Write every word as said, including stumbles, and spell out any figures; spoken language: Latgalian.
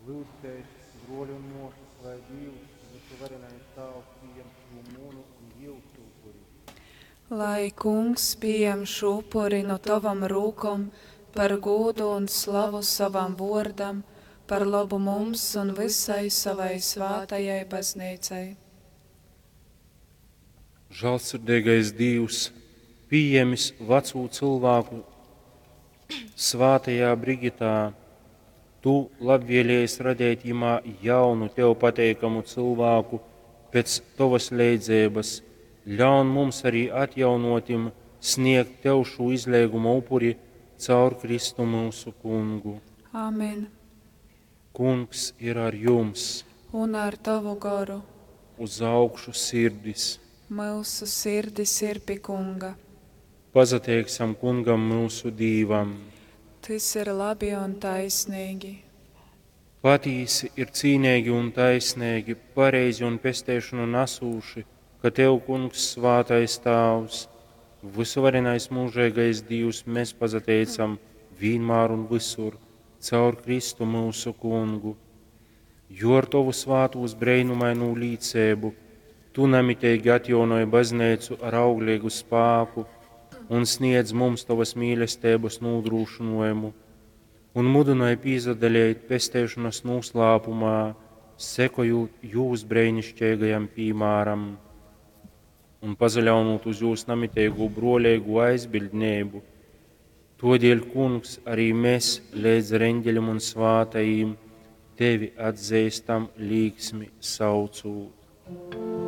Lyudzitēs, bruoli un muosys, lai Dīvs, vysuvarenais Tāvs, pījem šū munu un jiusu upuri. Lai Kungs pījem šū upuri nu tovom rūkom par gūdu un slavu sovam vuordam, par lobu mums un vysai sovai svātajai bazneicai. Žālsirdeigais Dīvs, pījēmis vacū cylvāku svātajā Brigitā, Tu labvēlējies radeit jimā jaunu, Tev pateikamu cylvāku pēc Tovas leidzeibas, ļaun mums arī atjaunotim sniegt Tev šū izleiguma upuri caur Kristu myusu Kungu. Amen. Kungs ir ar jums! Un ar tovu goru. Uz augšu sirdis! Myusu sirdis ir pi Kunga. Pasateiksim Kungam myusu Dīvam! Tys ir labi un taisneigi. Patīsi ir cīneigi un taisneigi, pareizi un pesteišonu nasūši, ka Tev, Kungs, svātais Tāvs, vysuvarenais mūžeigais Dīvs, mēs pasateicam vīnmār un visur, caur Kristu myusu Kungu. Jo ar Tovu svātūs breinumainū līceibu Tu namiteigi atjaunoj bazneicu ar augleigu spāku un sniedz mums Tovas mīlesteibas nūdrūšynojumu un mudynoj pīsadaleit pesteišonas nūslāpumā, sekojūt jūs breinišķeigajam pīmāram un pasaļaunūt uz jūs namiteigū bruoleigū aizbiļdneibu. Todēļ, Kungs, arī mēs leidz ar eņģeļiem un svātajiem tevi atzīstam līksmi saucūt.